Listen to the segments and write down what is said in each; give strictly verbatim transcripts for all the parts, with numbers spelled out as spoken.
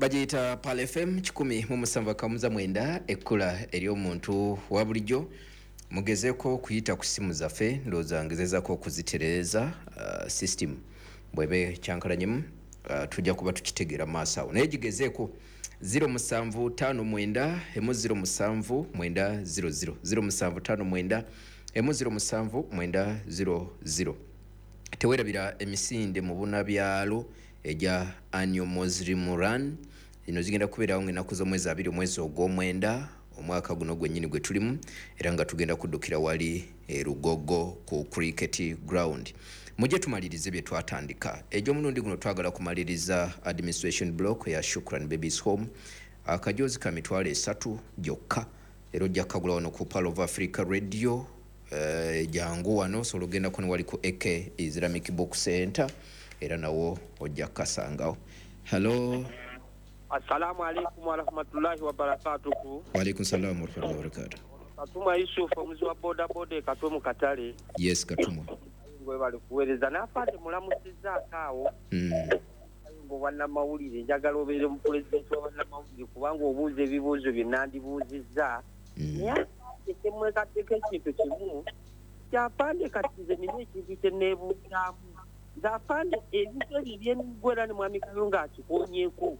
Bagiyita Pearl F M kikumi mu musanvu akamuza mwenda, ekkula ery'omuntu wa bulijjo. Mugezeeko okuyita ku simu zaffe. Ndowooza ngezezaako okuzitereeza uh, system bwebe kyankalanyemu, uh, tujja kuba tukitegeera maaso awo, naye gigezeeko zero musanvu ttaano mwenda emu zero musanvu mwenda zero zero, zero musanvu ttaano mwenda emu zero musanvu mwenda zero zero. Tewerabira emisinde mu bunabyalo egya annual Muslim Run. Zino zigenda kubeerawo ngaennaku z'omwezi abiri omwezi ogw'omwenda omwaka guno gwennyini gwe tulimu, era nga tugenda kuddukira wali e Lugogo ku cricket ground. Mujje tumalirize bye twatandika. Egy'omulundi guno twagala kumaliriza administration block ya Shukran Babies Home, akajozi ka mitwalo esatu gyokka, era ojja kukagula wano ku Pearl of Africa Radio. eh, jangu wano, osobola ogendako ne wali ku A K Islamic Book Center, era nawo ojja kukasangawo. Hello. Assalamu alaikum warahmatullahi wabarakatuhu. Waalaikum salamu warahmatullahi wabarakatuh. Katumwa Yusufu, omuzi wa bodaboda e Katwe mu katale. Yes, Katumwa. Webale kuweereza n'afaate mulamusizzaako awo. mm. Nga obwannamawulire, njagala obeere mu pulezidenti wa bannamawulire, kubanga obuuza ebibuuzo bye nandibuuzizza. Mm. Naye afande, kyemwekaddeko ekintu kimu kyafande, kati nze nina ekintu kye neebuuzaamu nze afande, ebintu ebyo ebyemigwa, era ne mwami Kayonga akikonyeeko,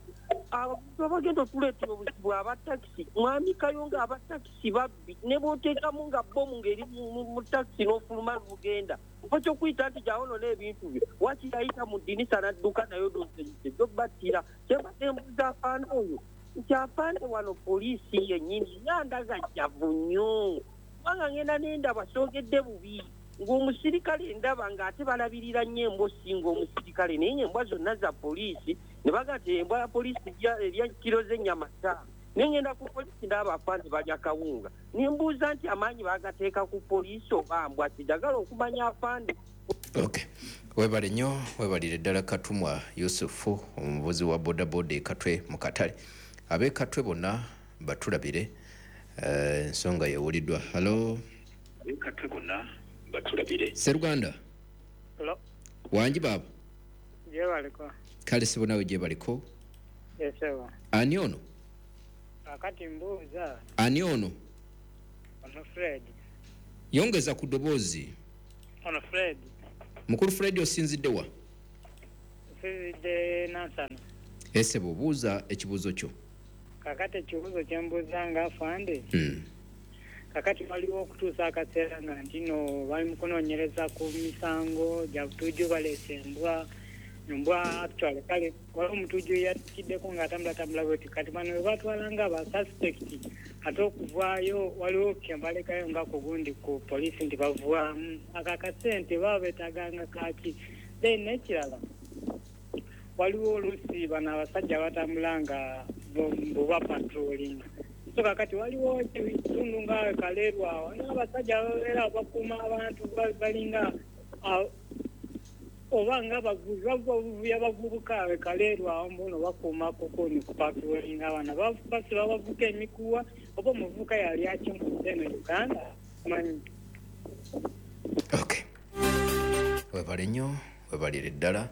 abantu abagenda otuleetera obuzibu abatakisi. Mwami Kayonga, abatakisi babbi, ne bw'oteekamu nga bomu ng'eri mu- mu mu takisi n'ofuluma n'ogenda mpa kyokuyita nti gyawonona ebintu byo, wakiyayita mu ddinisa n'adduka nayo doseyise gyobattira. Kyembadde mbuuza afande oyo nti afande, wano poliisi yennyini yandagajjavu nnyo, kubanga ngenda nendaba, soogedde bubi, ng'omusirikale ndaba ng'ate balabirira nnyo embwa osinga omusirikale, naye ng'embwa zonna za poliisi, ne baga nti embwa ya poliisi erya- erya kiro z'ennyama ttaano, naye ngenda ku poliisi ndaba afande balya kawunga, ne mbuuza nti amaanyi bagateeka ku poliisi oba mbwa? Kijagala okumanya, afande. Okay, webale nnyo, webalire ddala Katumwa Yusufu, omuvuzi wa bodaboda e Katwe mu katale. Ab'e Katwe bonna batulabire. eh, ensonga yewuliddwa. Hello. Katwe bonna batulabire. Seruganda. Hello. Wangi baaba? Gyebaliko. Kale sibo, nawe gyebaliko. Esebo. Ani ono? Kakati mbuuza. Ani ono? Ono Fred. Yongeza ku ddoboozi. Ono Fred. Mukulu Fred, osinzidde wa? Nsinzidde Nansana. Esebo, obuuza ekibuuzo kyo. Kakati ekibuuzo kyembuuza nga afande, Hmm. kakati waliwo okutuusa akaseera nga ntino bali mu kunoonyereza ku misango gya butujju, baleese embwa, embwa actually kale waliwo omutujju yatikiddeko ng'atambulatambula bweti, kati bano bwe batwala nga ba suspect, ate okuvaayo waliwo kyembalekayo nga ku gundi ku poliisi nti bavaamu ako akasente baba beetaganga kaki? Then n'ekirala, waliwo oluusi bano abasajja batambula nga buba patrolling, so kakati waliwo ebitundu nga Kaleerwa awo n'abasajja babeera bakuuma abantu, ba- balinga ah, oba nga bavubi bavubi abavubuka abe Kaleerwa awo mbuno bakuuma kukuni ku patrolling, abaana basiba bavuka emikuwa, oba omuvubuka yali akimuze eno Uganda manyi? Okay, webale nnyo, webalire ddala,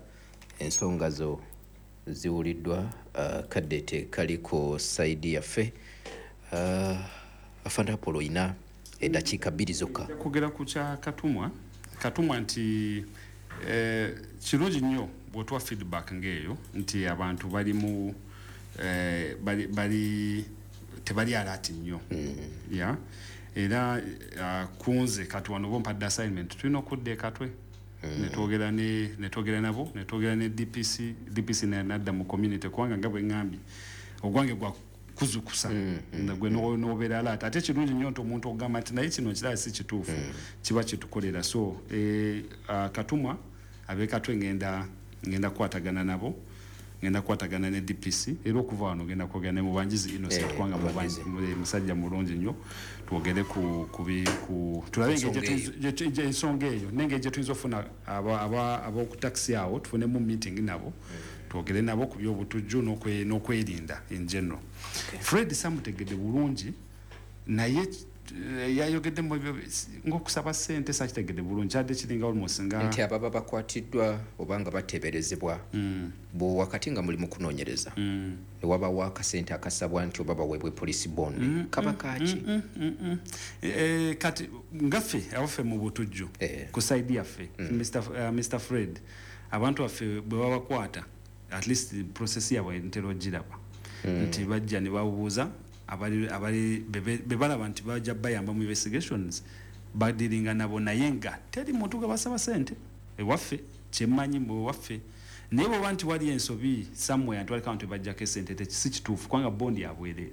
ensonga zo ziwuliddwa. uh, kadde tekali ku side yaffe. uh, afande Apollo, oyina eddakiika bbiri zokka. Kwogera ku kya Katumwa. Katumwa nti eh, kirungi nnyo bw'otuwa feedback ng'eyo nti abantu bali mu eh, bali, bali tebali alert nnyo mm. Yeah, era uh, kunze kati wano bompadde assignment, tulina okudda ekatwe mm. netwogera ne netwogera nabo, netwogera ne D P C, D P C nadda mu community, kubanga nga bwe ŋŋambye ogwange gwa kuzukusa mm, mm, gwe mm. nobeera alert. Ate kirungi nnyo nti omuntu ogamba nti naye kino kirala si kituufu mm. kiba kitukolera. So eh, uh, Katumwa, ab'ekatwe ngenda ngenda kukwatagana nabo, ngenda kukwatagana ne D P C, era okuva wano ngenda kwogera ne Mubanjizi Innocent, Eh, kubanga Mubanjizi. Mubanji- musajja mulungi nnyo, twogere ku, ku, bi- ku tulabe engeri Ensonga gye tuyinza- gye tu- gye- ensonga eyo n'engeri gye tuyinza okufuna ab'oku takisi awo, tufunemu meeting nabo, twogere nabo ku byobutujju n'okwe- n'okwerinda in general. Fred samutegedde bulungi, naye Yayogeddemu ebyo ng'okusaba ssente, sakitegedde bulungi, kyadde kiringa almost nga nti ababa bakwatiddwa oba nga bateeberezebwa, bwe wakati nga muli mu kunoonyereza, ne wabawo akasente akasabwa nti oba baweebwe police bond, kaba kaaki? Eh, kati ngaffe abaffe mu butujju, Eh. ku side yaffe, Mister F- uh, Mister Fred, abantu baffe bwe babakwata, at least process yaabwe ntera ogiraba nti bajja ne babuuza abali abali be- be balaba nti bajja bayamba mu investigations, badiringa nabo, naye nga teri muntu gwe basaba sente ewaffe, kyemmanyi mu waffe. Naye bwoba nti wali ensobi somewhere nti waliko abantu bajjako esente, te si kituufu, kubanga bondi yabwereere.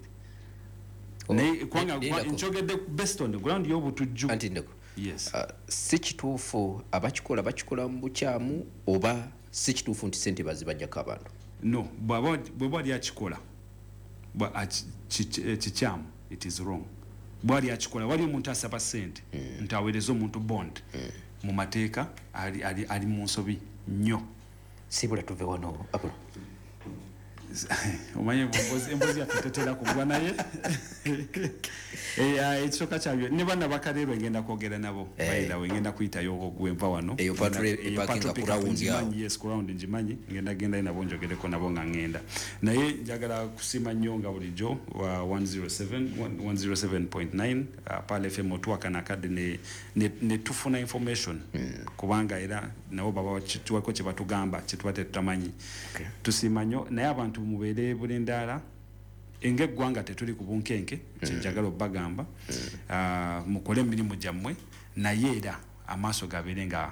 Oh, Naye kubanga lindako. Nkyogedde based on the ground y'obutujju. Anti ndeko. Yes. Uh, si kituufu abakikola bakikola mu bukyamu, oba si kituufu nti sente bazibajjako abantu? No, bw'aba bw'aba wali akikola, bwa- aki- ki- eh, kikyamu, it is wrong. Bwali akikola, wali omuntu asaba sente nti aweereze omuntu bond, mu mateeka ali, ali, ali mu nsobi nnyo. Sibula tuve wano, Apolo. Omanye embozi embozi yaffe tetera kugwa, naye Eh, ah, ekisooka kyabyo ne banna bakaleerwe ngenda kwogera nabo. Eh. By the way, ngenda kuyitayo gwenva wano. Eyo patrol Eyo eparkinga patrol ku pickup round ngimanyi, awo. Yes, ku round ngimanyi, ngenda gendayo nabo, njogereko nabo nga ngenda. Naye njagala kusiima nnyo nga bulijjo wa one oh seven one oh seven point nine uh, Pearl F M, otuwakana akadde ne, ne, ne tufuna information, kubanga era nabo baba tuwako kye batugamba kye tuba tetutamanyi. Okay. Tusiima nnyo, naye abantu mubeere bulindaala. Ng'eggwanga tetuli ku bunkenke, kyenjagala obbagamba. Ah, mukole emirimu gyammwe, naye era amaaso gabeere nga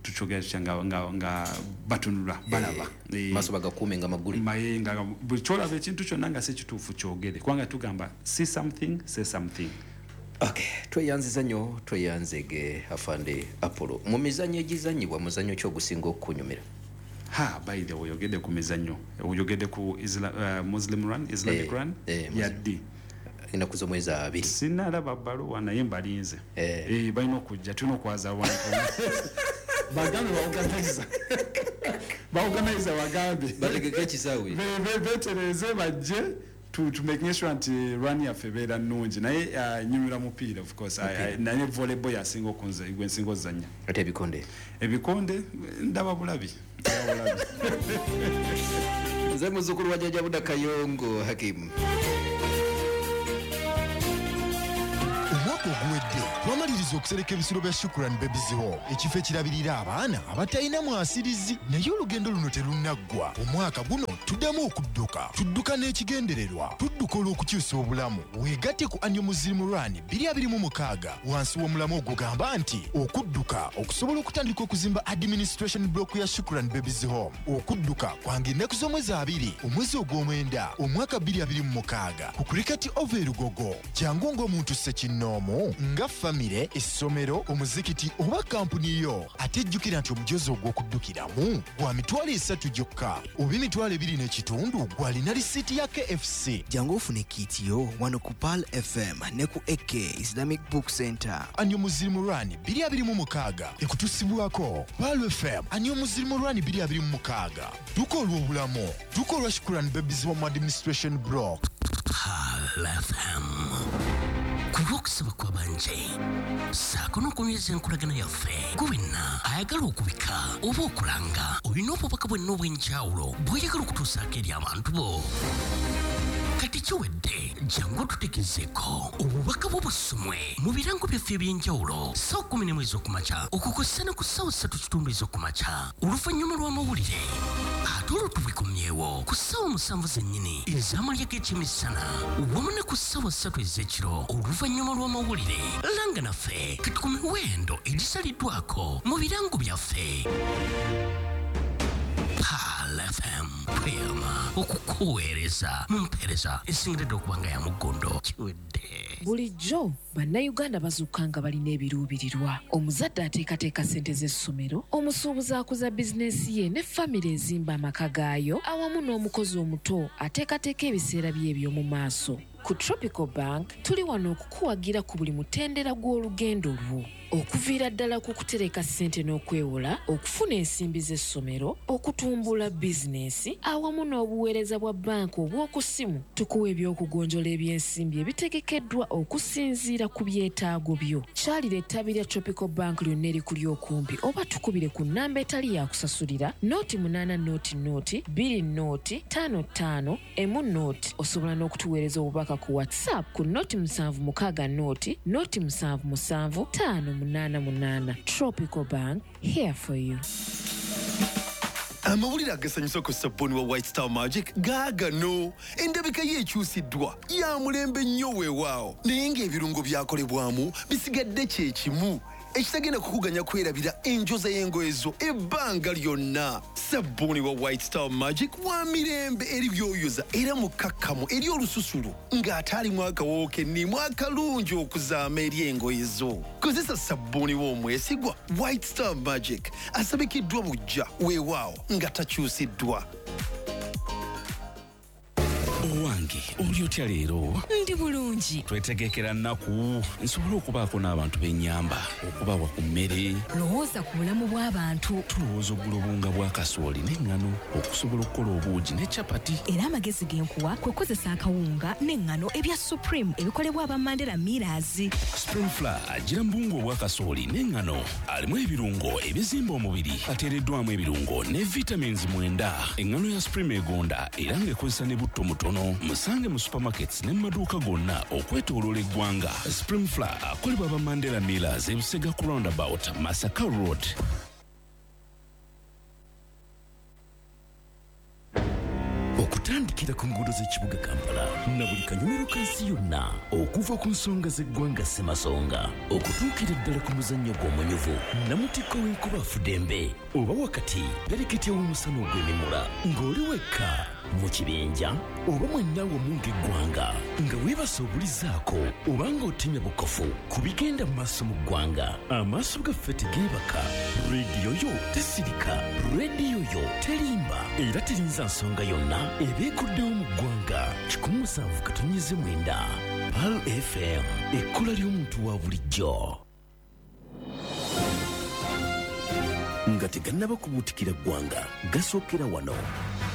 tukyogera tutya, nga, nga, nga batunula balaba. Eh, maaso bagakuume nga magule. Maye nga buli kyolaba ekintu kyonna nga si kituufu, kyogere, kubanga tugamba see something, say something. Okay, tweyanziza nnyo, tweyanzege afande Apollo. Mu mizannyo egizanyibwa, muzannyo ki ogusinga okukunyumira? Ha, by the way, oyogedde ku mizannyo, oyogedde ku Isla, uh, Muslim run, Islamic Eh, run. eh, Muslim. Yaddi? Ennaku z'omwezi abiri. Sinalaba bbaluwa, naye mbalinze. Eh. Eh, balina okujja, tulina okwaza abantu, bagambe baorganiza baorganiza bagambe bategeke ekisaawe. Be- be- betereze bajje to, to making sure nti run yaffe ebeera nnungi. Naye uh, nyumira mupiira, of course. I- I- naye volleyball yasinga okunze, gwe nsinga ozannya. Ate ebikonde? Ebikonde ndaba bulabi, ndaba bulabi. Nze muzzukulu wa Jjajja Buda Kayongo Hakimu. Omwaka oguwedde twamaliriza okusereka ebisulo bya Shukran Babies Home, ekifo ekirabirira abaana abatalina mwasirizi. Naye olugendo luno terunnaggwa. Omwaka guno tuddamu okudduka, tudduka n'ekigendererwa, tudduka olw'okukyusa obulamu. Weegatte ku Annual Muslim Run twenty twenty-six wansi w'omulamu ogugamba nti okudduka okusobola okutandika okuzimba administration block ya Shukran Babies Home. Okudduka kwange ennaku z'omwezi abiri omwezi ogw'omwenda omwaka twenty twenty-six ku Cricket Oval e Lugogo. Jangu ng'omuntu ssekinnoomu, nga famire, essomero, omuzikiti oba kampuni yo. Ate jjukira nti omujozi ogw'okuddukiramu gwa mitwalo esatu gyokka oba emitwalo ebiri n'ekitundu gwalina risiiti ya K F C. Jangu ofune kit yo wano ku Pearl F M ne ku A K Islamic Book Center. Annual Muslim Run twenty twenty-six ekutusibwako Pearl F M. Annual Muslim Run twenty twenty-six, dduka olw'obulamu, dduka olwa Shukran Babies Home Administration Block. Pearl F M, ku lw'okusaba kw'abanje saako n'okunyweza enkolagana yaffe, gwe wenna ayagala okubika oba okulanga, olina obubaka bwenna obw'enjawulo bw'oyagala okutuusaako eri abantu bo, kati kiwedde. Jangu otutegezeeko obubaka bwo busomwe mu birango byaffe eby'enjawulo ssaawa kumi n'emu ez'okumakya okukosa ne ku ssaawa ssatu kitundu ez'okumakya oluvannyuma lw'amawulire, ate olwo tubikomyewo ku ssaawa musanvu zennyini ez'amalya g'ekyemisana wamu ne ku ssaawa ssatu ez'ekiro oluvannyuma lw'amawulire. Langa naffe kati ku miwendo egisaliddwako mu birango byaffe. Pearl F M, tweyama okukuweereza mu mpeereza esingiridde okuba nga ya muggondo. Kiwedde. Bulijjo Bannayuganda bazuuka nga balina ebiruubirirwa. Omuzadde ateekateeka ssente z'essomero, omusuubuzi akuza bizinensi ye, ne famire ezimba amaka gaayo, awamu n'omukozi omuto ateekateeka ebiseera bye eby'omu maaso. Ku Tropical Bank tuli wano okukuwagira ku buli mutendera gw'olugendo lwo, okuviira ddala ku kutereka ssente n'okwewola, okufuna ensimbi z'essomero, okutumbula bizinensi awamu n'obuweereza bwa banka obw'oku ssimu. Tukuwa ebyokugonjola ebyensimbi ebitegekeddwa okusinziira ku byetaago byo. Kyalira ettabi lya Tropical Bank lyonna erikuli okumpi oba tukubire ku nnamba etali yakusasulira nooti munaana nooti nooti bbiri nooti ttaano ttaano emu nooti. Osobola n'okutuweereza obubaka ku WhatsApp ku nooti musanvu mukaaga nooti nooti musanvu musanvu ttaano munaana munaana. Tropical Bank, here for you. Amawulire agasanyusa ku sabbuuni wa White Star Magic gaagano. Endabika ye ekyusiddwa ya mulembe nnyo weewaawo, naye ng'ebirungo byakolebwamu bisigadde kye kimu ekitagenda kukuganya kwerabira enjoza y'engoye zo ebbanga lyonna. Sabbuuni wa White Star Magic wa mirembe eri byoyoza era mukkakkamu eri olususu ng'ate alimu akawoowo kennimu akalungi okuzaama eri engoye zo. Kozesa sabbuuni w'omwesigwa White Star Magic asabikiddwa buggya weewaawo nga takyusiddwa. Owange, oli otya leero? Ndi bulungi. Twetegekera nnaku nsobole okubaako n'abantu b'ennyamba, okubawa ku mmere. Lowooza ku bulamu bw'abantu. Tulowooza okugula obuwunga bwa kasooli n'eŋŋano okusobola okukola obuugi ne capati. Era amagezi ge nkuwa kwe kukozesa akawunga n'eŋŋano ebya Supreme ebikolebwa aba Mandela Millers. Supreme Flour agira mu buwunga obwa kasooli n'eŋŋano, alimu ebirungo ebizimba omubiri, ateereddwamu ebirungo ne vitamins mwenda. Eŋŋano ya Supreme egonda era ng'ekozesa ne butto mutono. Musange mu supermarkets ne mu maduuka gonna okwetooloola eggwanga. Supreme Flour akolebwa aba Mandela Millers, Ebusega ku roundabout, Masaka Road. Okutandikira ku nguudo z'ekibuga Kampala na buli kanyumiro ka nsi yonna, okuva ku nsonga z'eggwanga Ssemasonga okutuukira ddala ku muzannyo gw'omunyuvu namutikko w'enkuba afudembe, oba wakati pereketya w'omusana ogw'emimula, ng'oli wekka mu kibinja oba mwenna wamu ng'eggwanga, nga weebasa obulizaako oba ng'otemya bukofu ku bigenda mu maaso mu ggwanga. Amaaso gaffe tegeebaka, rediyo yo tesirika, rediyo yo terimba era terinza nsonga yonna ebeekuddewo mu ggwanga. Kikumi musanvu katonnyeze mwenda Pearl F M, ekkula ly'omuntu wa bulijjo. Nga tegannaba kubuutikira ggwanga, gasookera wano.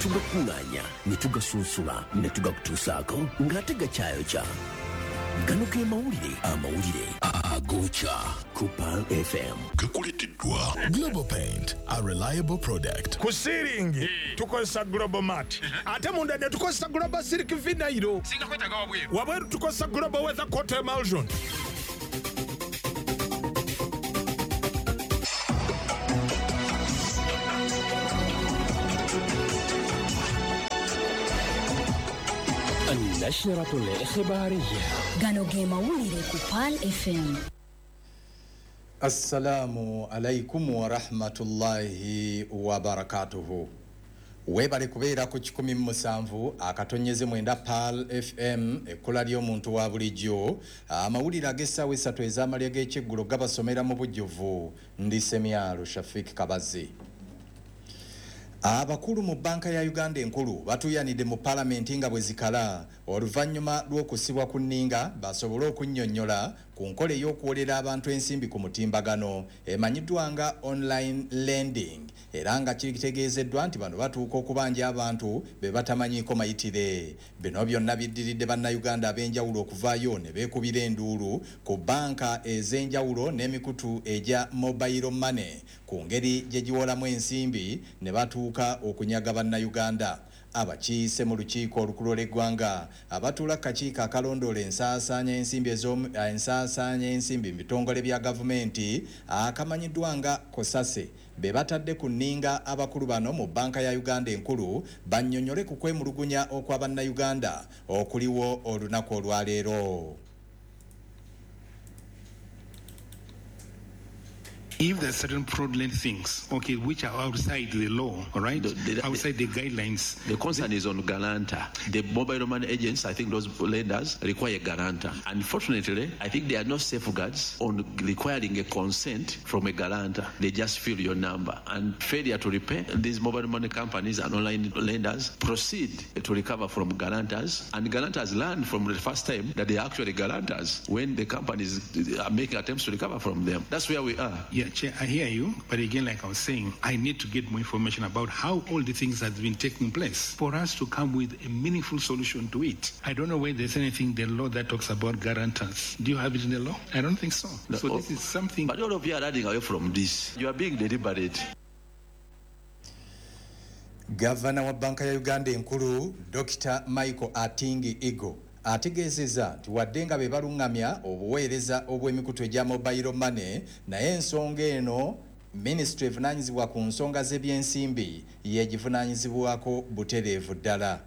Tugakuŋŋaanya ne tugasunsula ne tugakutuusaako ng'ate gakyayokya. Gano ge mawulire, amawulire agokya ku Pearl F M. Gakuleeteddwa Global Paint, a reliable product. Ku siiringi tukozesa Global Mat, ate munda ne tukozesa Global Silk Vinyl. Wabweru tukozesa Global Weather Coat Emulsion. النشرة الإخبارية. Gano ge mawulire ku Pearl F M. Assalamu alaikum wa rahmatullahi wa barakatuhu. Webale kubeera ku kikumi mu musanvu akatonyeze mwenda Pearl F M, ekkula ly'omuntu wa bulijjo. Amawulire ag'essaawa essatu ez'amalya g'ekyeggulo gabasomera mu bujjuvu. Ndi Semyalo Shafik Kabazi. Abakulu mu banka ya Uganda enkulu batuyanidde mu palamenti nga bwe zikala oluvannyuma lw'okusibwa ku nninga basobole okunnyonnyola ku nkola ey'okuwolera abantu ensimbi ku mutimbagano emanyiddwa nga online lending, era nga kitegeezeddwa nti bano batuuka okubanja abantu be batamanyiiko mayitire. Bino byonna biddiridde bannayuganda ab'enjawulo okuvaayo ne beekubira enduulu ku banka ez'enjawulo n'emikutu egya mobile money ku ngeri gye giwolamu ensimbi ne batuuka okunyaga bannayuganda. Abakiise mu lukiiko olukulu lw'eggwanga abatuula kakiiko akalondoola ensaasaanya ensimbi ensaasaanya ensimbi mu bitongole bya gavumenti akamanyiddwa nga Kosase be batadde ku nninga abakulu bano mu banka ya Uganda enkulu bannyonnyole ku kwemulugunya okwa bannayuganda okuliwo olunaku olwaleero. If there are certain fraudulent things, okay, which are outside the law, all right, the, the, outside the guidelines. The concern is on guarantor. The mobile money agents, I think those lenders require a guarantor. Unfortunately, I think there are no safeguards on requiring a consent from a guarantor. They just fill your number. And failure to repay, these mobile money companies and online lenders proceed to recover from guarantors. And guarantors learn from the first time that they are actually guarantors when the companies are making attempts to recover from them. That's where we are. Yeah, Chair, I hear you, but again, like I was saying, I need to get more information about how all the things have been taking place for us to come with a meaningful solution to it. I don't know whether there's anything in the law that talks about guarantors. Do you have it in the law? I don't think so. No, so this is something... But all of you are running away from this. You are being deliberate. Governor wa Banka ya Uganda enkulu, Doctor Michael Atingi Igo, ategeezezza nti wadde nga be balungamya obuweereza obw'emikutu egya mobile money, naye ensonga eno minisitule evunaanyizibwa ku nsonga z'ebyensimbi yegivunaanyizibwako butereevu ddala.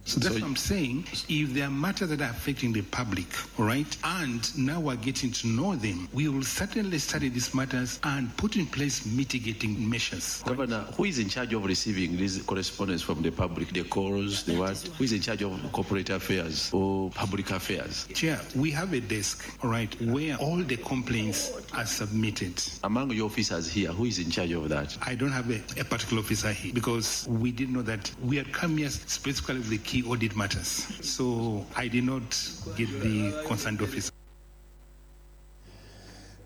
So that's what I'm saying. If there are matters that are affecting the public, all right, and now we're getting to know them, we will certainly study these matters and put in place mitigating measures. Governor, who is in charge of receiving these correspondence from the public, the calls, the what? Who is in charge of corporate affairs or public affairs? Chair, we have a desk, all right, where all the complaints are submitted. Among your officers here, who is in charge of that? I don't have a, a particular officer here because we didn't know that we had come here specifically with the key audit matters. So I did not get the concerned officer.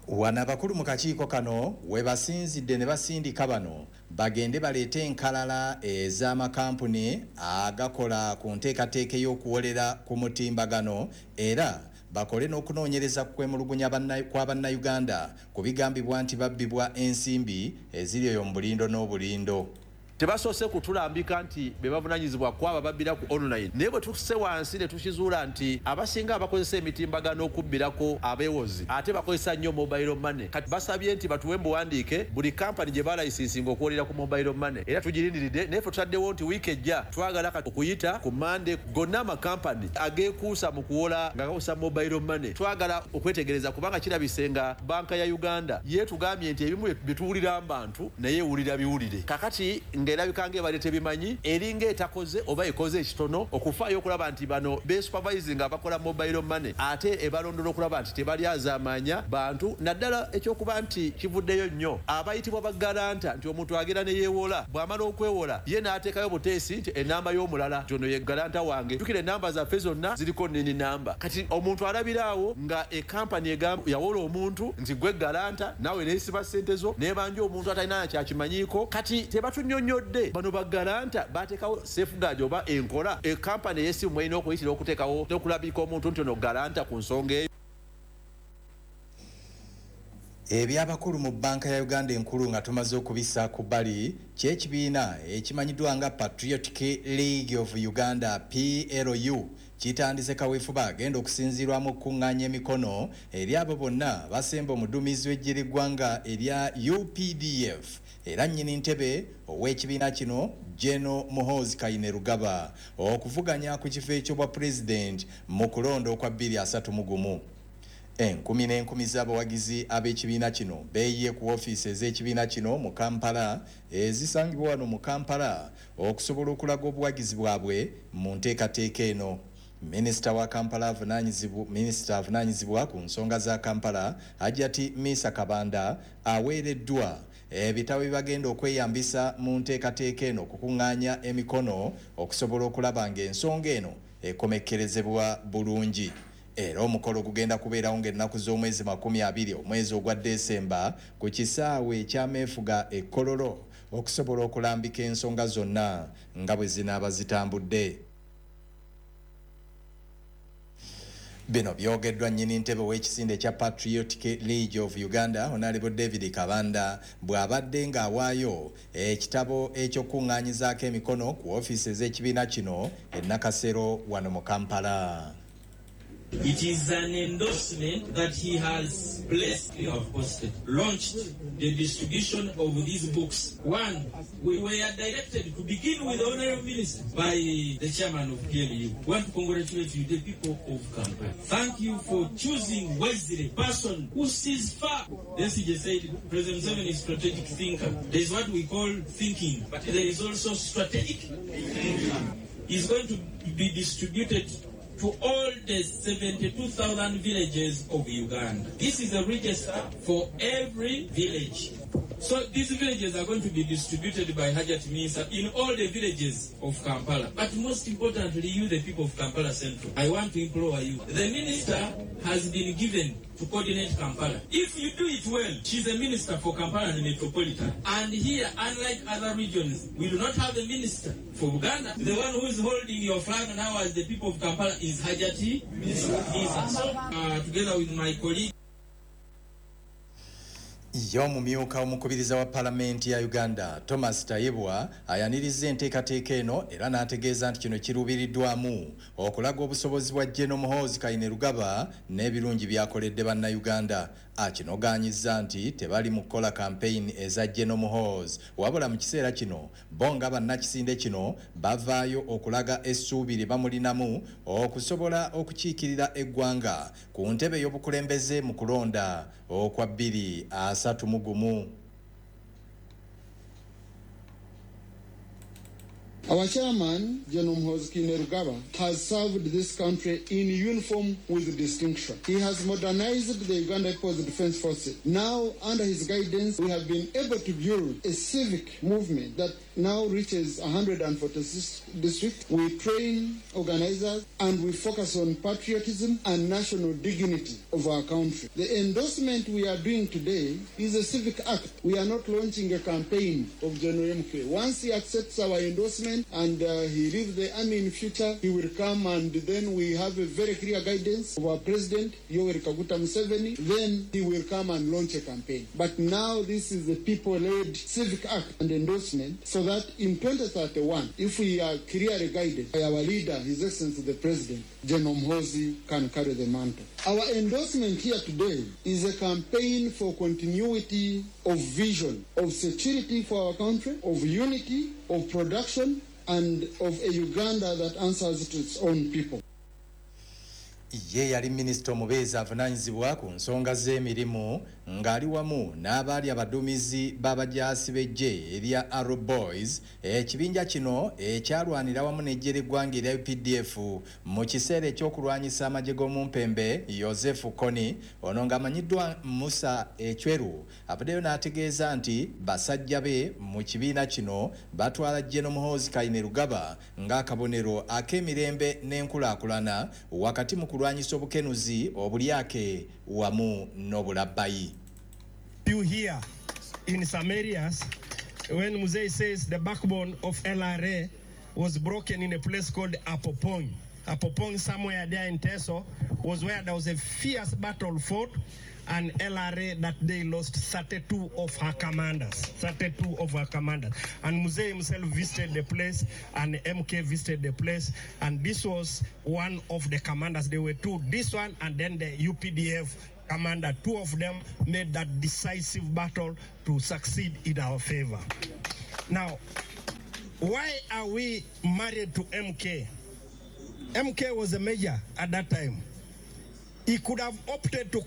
Wano abakulu mu kakiiko kano we basinzidde ne basindika bano bagende baleete enkalala ez'amakampuni agakola ku nteekateeka ey'okuwolera ku mutimbagano era bakole n'okunoonyereza kwemulugunya kwa bannayuganda ku bigambibwa nti babbibwa ensimbi eziri eyo mu bulindo n'obulindo. Tebasoose kutulambika nti be bavunaanyizibwa kwaba babbira ku online, naye bwe tutuse wansi ne tukizuula nti abasinga abakozesa emitimbagano okubbirako abeewozi ate bakozesa nnyo mobile money. Kati basabye nti batuwe mbuwandiike buli kampani gye balayisinsinga okuwolera ku mobile money, era tugirindiridde. Naye ffe tutaddewo nti wiiki ejja twagala kati okuyita ku Mande gonna amakampani ageekuusa mu kuwola nga gakozesa mobile money twagala okwetegereza, kubanga kirabise nga banka ya Uganda yeetugambye nti ebimu bye tuwulira mu bantu naye ewulira biwulire. Kakati ng'erabika ng'ebadde tebimanyi, eringa etakoze oba ekoze ekitono okufaayo okulaba nti bano besupervising abakola mobile money ate ebalondola okulaba nti tebalyazaamanya bantu, naddala ekyokuba nti kivuddeyo nnyo abayitibwa bagaranta nti omuntu agenda ne yeewola, bw'amala okwewola ye n'ateekayo buteesi nti ennamba y'omulala nti ono ye garanta wange, tukira ennamba zaffe zonna ziriko nini namba. Kati omuntu alabiraawo nga ekampani egamba yawola omuntu nti gwe garanta naawe neesiba ssente zo nebanja omuntu atalina kyakimanyiiko. Kati tebatunnyonnyodde bano bagaranta bateekawo safeguard oba enkola ekampani ey'essimu erina okuyitira okuteekawo n'okulabika omuntu nti ono garanta ku nsonga eyo. Ebyabakulu mu banka ya Uganda enkulu nga tumaze okubissa ku bbali ky'ekibiina ekimanyiddwa nga Patriotic League of Uganda P L U kitandise kaweefube agenda okusinziirwamu okukuŋŋaanya emikono eri abo bonna basemba omuduumizi w'eggye ly'eggwanga erya U P D F era nnyini ntebe ow'ekibiina kino General Muhoozi Kainerugaba okuvuganya ku kifo eky'obwa pulezidenti mu kulonda okwa bbiri asatu mu gumu. Enkumi n'enkumi z'abawagizi ab'ekibiina kino beeyiye ku ofiisi ez'ekibiina kino mu Kampala ezisangibwa wano mu Kampala okusobola okulaga obuwagizi bwabwe mu nteekateeka eno. Minisita wa Kampala avunaanyizibwa minisita avunaanyizibwa ku nsonga za Kampala Hajjati Misa Kabanda aweereddwa ebitabo bibagenda okweyambisa mu nteekateeka eno okukuŋŋaanya emikono okusobola okulaba ng'ensonga eno ekomekkerezebwa bulungi. Era omukolo gugenda kubeerawo ng'ennaku z'omwezi makumi abiri omwezi ogwa Desemba ku kisaawe ekyameefuga e Kololo okusobola okulambika ensonga zonna nga bwe zinaaba zitambudde. Bino byogeddwa nnyini ntebe w'ekisinde ekya Patriotic League of Uganda Honorable David Kabanda bw'abadde ng'awaayo ekitabo ekyokuŋŋaanyizaako emikono ku ofiisi ez'ekibiina kino e Nakasero wano mu Kampala. It is an endorsement that he has placed, you have posted, launched the distribution of these books. One, we were directed to begin with the Honorable Minister by the chairman of P L U. We want to congratulate you, the people of Kampala. Thank you for choosing wisely, person who sees far. The C J said President Museveni is strategic thinker. There is what we call thinking, but there is also strategic thinking. It's going to be distributed to all the seventy-two thousand villages of Uganda. This is a register for every village. So these villages are going to be distributed by Hajat Minsa in all the villages of Kampala. But most importantly, you, the people of Kampala Central, I want to implore you. The minister has been given to coordinate Kampala. If you do it well, she's a minister for Kampala and the Metropolitan. And here, unlike other regions, we do not have a minister for Uganda. The one who is holding your flag now as the people of Kampala is Hajati Minsa. So, uh, together with my colleague, Ye omumyuka omukubiriza wa Palamenti ya Uganda Thomas Tayebwa ayaniriza enteekateeka eno era n'ategeeza nti kino kiruubiriddwamu okulaga obusobozi bwa General Muhoozi Kainerugaba n'ebirungi by'akoledde bannayuganda. Akinogaanyizza nti tebali mu kukola campaign eza General Muhoozi, wabula mu kiseera kino bo nga bannakisinde kino bavaayo okulaga essuubi lye bamulinamu okusobola okukiikirira eggwanga ku ntebe y'obukulembeze mu kulonda okwa bbiri asatu mu gumu. Our chairman, General Muhoozi Kainerugaba, has served this country in uniform with distinction. He has modernized the Uganda People's Defense Forces. Now, under his guidance, we have been able to build a civic movement that now reaches one hundred forty-six districts. We train organizers and we focus on patriotism and national dignity of our country. The endorsement we are doing today is a civic act. We are not launching a campaign of General M K. Once he accepts our endorsement and uh, he leaves the army in future, he will come and then we have a very clear guidance of our president, Yoweri Kaguta Museveni. Then he will come and launch a campaign. But now this is the people-led civic act and endorsement, so that in twenty thirty-one, if we are clearly guided by our leader, His Excellency the President, General Muhoozi can carry the mantle. Our endorsement here today is a campaign for continuity of vision, of security for our country, of unity, of production, and of a Uganda that answers to its own people. Ye yali minisita omubeezi avunaanyizibwa ku nsonga z'emirimu ng'ali wamu n'abaali abaduumizi b'abajaasi b'eggye erya Arrow Boys, ekibinja kino ekyalwanira wamu n'eggye ly'eggwanga erya U P D F mu kiseera eky'okulwanyisa amagye g'omumpembe Joseph Kony, ono ng'amanyiddwa Musa Echweru, avuddeyo n'ategeeza nti basajja be mu kibiina kino batwala General Muhoozi Kainerugaba ng'akabonero ak'emirembe n'enkulaakulana wakati mu kulwanyisa obukenuzi, obulyake wamu n'obulabbayi. You hear in some areas when Muzei says the backbone of L R A was broken in a place called Apopong. Apopong, somewhere there in Teso, was where there was a fierce battle fought, and L R A that day lost thirty-two of her commanders. thirty-two of her commanders. And Muzei himself visited the place, and M K visited the place, and this was one of the commanders. There were two, this one and then the U P D F commander. Two of them made that decisive battle to succeed in our favor. Now, why are we married to M K? M K was a major at that time. He could have opted to